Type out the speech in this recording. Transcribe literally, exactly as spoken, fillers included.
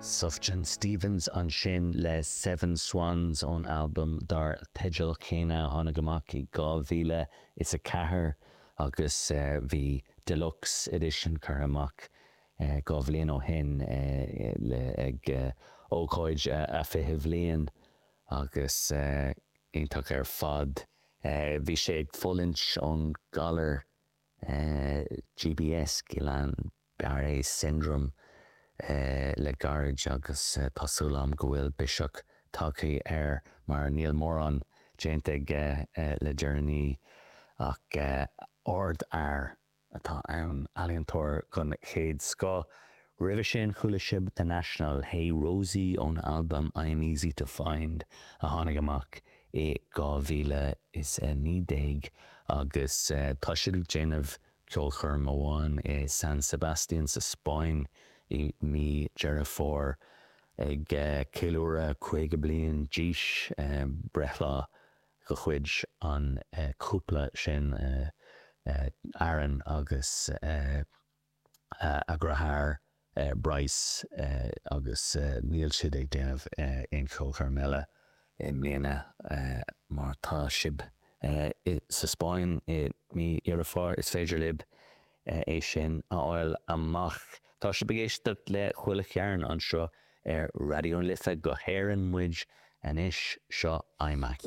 Sufjan Stevens ansin le Seven Swans ón albam dar teideal céanna a tháinig amach i dhá mhíle is a ceathair agus bhí deluxe edition curtha amach dhá bhliain ó shin ag ócáid a fiche bhliain agus iontach ar fad. Bhí sé ag fulaingt ón galar G B S, Guillain-Barré syndrome, le gairid agus tá súil agam go bhfuil biseach tagtha air mar níl mórán déanta aige le deireanaí ach ardfhear atá ann, ealaíontóir den chéad scoth. Roimhe sin chuala sibh The National, Hey Rosie ón albam I'm Easy to Find a tháinig amach i dhá mhíle is a naoi déag agus tá siad ag déanamh ceolchoirm amháin i San Sebastian sa Spáinn i mí Deireadh Fómhair ag ceiliúradh caoga bliain d'aois, breithlá de chuid an chúpla sin, Aaron agus a dheartháir Bryce, agus níl siad ag déanamh aon cheolchoirm eile i mbliana. Má tá sibh sa Spáinn i mí Dheireadh Fómhair, is féidir libh é sin a fháil amach. Tá sibh ag éisteacht le Chuile Chearn anseo ar Raidió na Life. Go hÉirinn muid anois, seo iMac.